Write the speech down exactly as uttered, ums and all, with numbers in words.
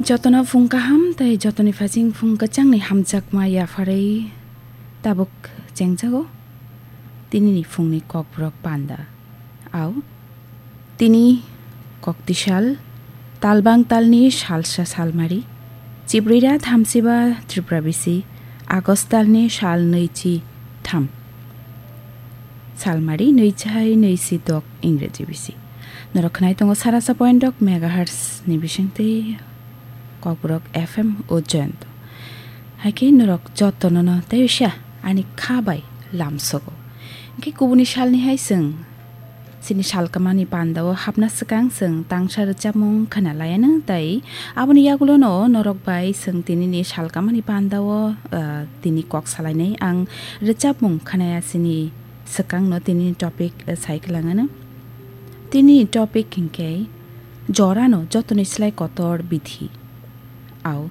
Jotono phung kaham tei jotoni phasing phung kwchangni hamjakma yapharwi tabuk chengjago tinini phungni kokborok panda. Au, tini koktisal, talbang talni salsa salmari, chibrira thamsiba Tripura bisi, August talni sal nwichi tham. Salmari nwichai nwichi dok Ingreji bisi. Norok khnai tongo sarasa point dok megahertz ni bisingtwi Kokborok F M o Joyonto. Haikhe norok jotono no tei usia ani kha bai lamsogo. Hwnkhe kubuni salni hai chwng chini salkamani pandao hapna swkang chwng tangsa rwchapmung khna laiano tei aboni yagulono norok bai chwng tinini salkamani pandao, ah, tini kok salainai ang rwchapmung khnaya chini swkangno tini topic, eh, sai kwlangano. Tini topic hinkhe jorano jotoni slai kotor bithi. Au,